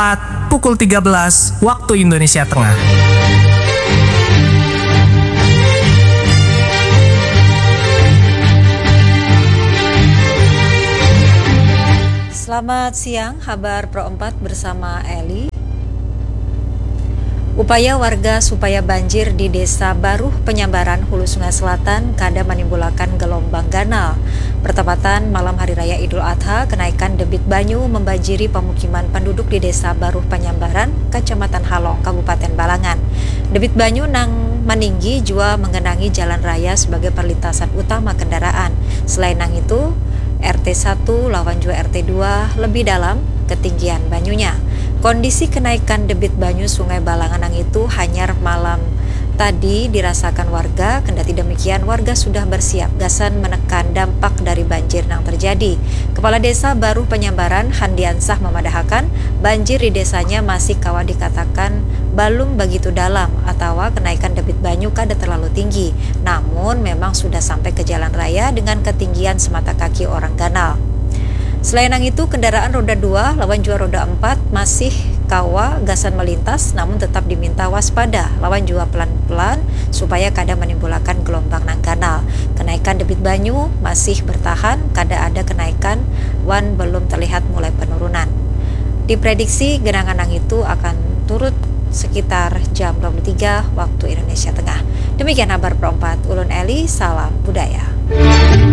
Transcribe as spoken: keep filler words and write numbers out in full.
Tepat pukul tiga belas waktu Indonesia Tengah. Selamat siang, Habar Pro empat bersama Eli. Upaya warga supaya banjir di Desa Baruh Penyambaran, Hulu Sungai Selatan, kada manimbulakan gelombang ganal. Bertepatan malam Hari Raya Idul Adha, kenaikan debit banyu membanjiri pemukiman penduduk di Desa Baruh Penyambaran, Kecamatan Halong, Kabupaten Balangan. Debit banyu nang maninggi jua menggenangi jalan raya sebagai perlintasan utama kendaraan. Selain nang itu, R T satu lawan jua R T dua lebih dalam ketinggian banyunya. Kondisi kenaikan debit banyu Sungai Balangan nang itu hanyar malam tadi dirasakan warga, kendati demikian warga sudah bersiap gasan menekan dampak dari banjir nang terjadi. Kepala Desa Baruh Penyambaran, Handiansah, memadahakan, banjir di desanya masih kawa dikatakan balum bagitu dalam atawa kenaikan debit banyu kada terlalu tinggi, namun memang sudah sampai ke jalan raya dengan ketinggian semata kaki orang ganal. Selain nang itu, kendaraan roda dua lawan jua roda empat masih kawa gasan melintas, namun tetap diminta waspada lawan jua pelan-pelan supaya kada menimbulakan gelombang nang ganal. Kenaikan debit banyu masih bertahan, kada ada kenaikan wan belum terlihat mulai penurunan. Diprediksi genangan nang itu akan turut sekitar jam dua puluh tiga waktu Indonesia Tengah. Demikian Habar Pro empat, ulun Eli, salam budaya.